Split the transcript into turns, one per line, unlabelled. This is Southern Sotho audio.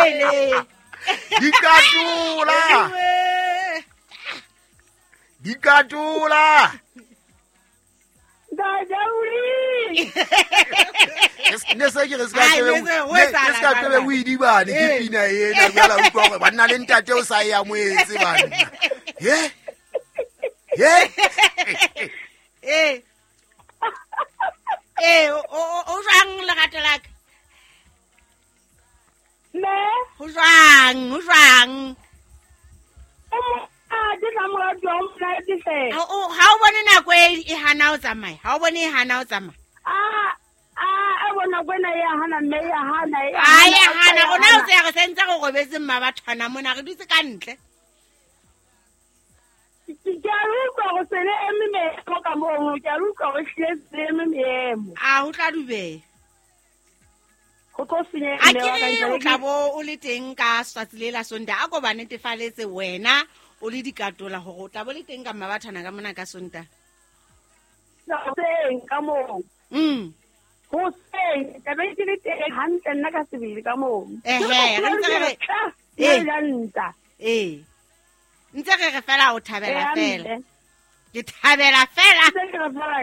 Hele.
Dikatola. Dikatola.
Ntate Uri.
Ne se ke re se ka
Ai,
tebe
ne se- ho
ne
etsahala
se ka tebe
jwang?
o idibane ke
Eh.
pina ena jwale a utlwa gore banna le ntate o sa e amoetse banna he he.
Ee. Ee, o jwang lerato la ka?
Mme.
Ho jwang? Ho jwang?
O monate tla moratuwa, o monate hle.
Ha o bone nako e hana ho tsamaya. Ha o bone e hana ho tsamaya.
A bona kwena e a hana mme e a hana e a
Ai
hana,
hana
e a
rona o
hana.
tseya re sentse re robetse mma bathwana mona re dutse ka ntle.
Ke a utlwa go se le eme meemo ka moo, ke a utlwa go hlile se le eme meemo.
A ho tla dubeha.
Go tlo senyeha
A
mme
ke
wa ka
re
ntle
o
le
tla bo o le teng ka swatsi le la Sontaha. A ko ba netefaletse wena o le dikatola hore o tla bo le teng ka mma bathwana ka mona ka Sontaha.
Hoseng ka moo. Hoseng tla be ke le teng hantle nna ka sebele ka moo.
Ehe, re ntse re re-
Ee.
Ee.
Ntla.
Ee. Ntse re re fela o thabela
Ee,
fela.
hantle.
Ke thabela fela.
Ntse ke re fela.